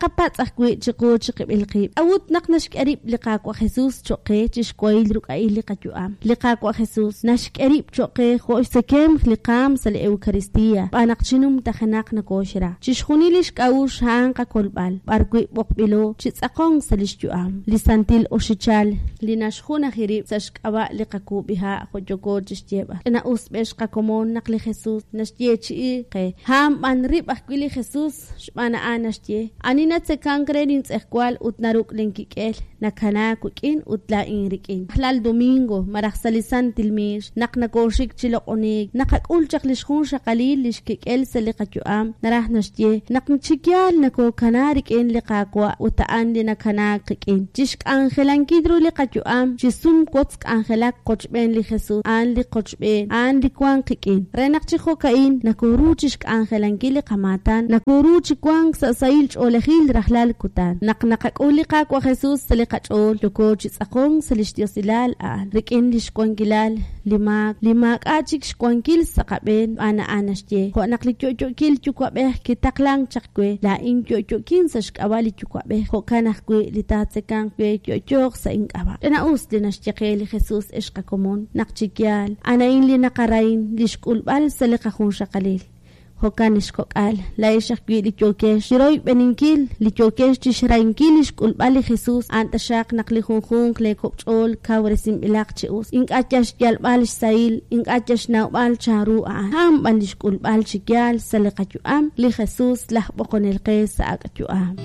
Taqapatz' ajwi' chiqu chiqib'il qib', K'a'ut naq naxk'e rib' li Qaawa' Jesus choq' qe chi xwahil ruk'a'il li qayu'am? Li Qaawa' Jesus naxk'e rib' choq' qe jo' xtzekemq li qaam sa' li Eucaristia, xb'aan naq chi numtajenaq nokooxra. Chixjunil lix k'a'uxl a'an qakolb'al, b'ar wi' b'oqb'ilo chi tz'aqonk sa' lix yu'am. Li santil oxichal li naxjunaji rib' sa' xk'ab'a' li qakuub'iha' jo' yooko chixyeeb'al. Ch'ina-us b'ex qakomon naq li Jesus naxyeechi'i qe. A'an b'an rib' ajwi' li Jesus, xb'aan a'an naxye, Ani natzekank re lintz'ejwal ut naruk' linkik'el, nakanaak wik'in ut laa'in rik'in. Rajlal domingo, malaj sa' li santil miix, naq nokooxik chi loq'oniik, naqak'ul chaq li xjunxaqalil li xkik'el sa' li qayu'am, naraj naxye, naq chi yaal nokookana rik'in li Qaawa' ut a'an li nakanaak qik'in. Chi xk'anjelankil ru li qayu'am, chi sum wotz k'anjelak qochb'een li Jesus, a'an li qochb'een, a'an li wank qik'in. Re naq chi jo'ka'in nokoru chi xk'anjelankil li qamaatan, nokoru chi wank sa' sahil ch'oolejil rajlal kutan. Naq naqak'ul li Qaawa' Jesus sa' li qach'ool, yooko chi tz'aqonk sa' lix diosilal a'an, rik'in lix wankilal li maak li maak'a' chik xwankil sa' qab'een, xb'aan a'an naxye, Jo' naq li yo'yo'kil Yuwa'b'ej kitaqlank chaq we, laa'in yo'yo'kin sa' xk'ab'a' li Yuwa'b'ej, jo'kan ajwi' li taatzekanq we yo'yooq sa' ink'ab'a'. Ch'ina-us li naxye qe li Jesus, ex qakomon, naq chi yaal, a'an a'in li naqarahin, li xk'ulb'al sa' li qajunxaqalil. Jo'kan, ex kok'al, laa'ex ajwi' li yookex chiroyb'eninkil, li yookex chixrahinkil li xk'ulb'al li Jesus, a'an taxaq naq li junjunq lee kok' ch'ool kawresinb'ilaq chi us. Ink'a' yal xyalb'al xsahil, ink'a' yal xnawb'al chanru a'an. A'an b'an li xk'ulb'al chi yaal sa' li qayu'am, li Jesus, laj b'oqonel qe sa' ak' yu'am.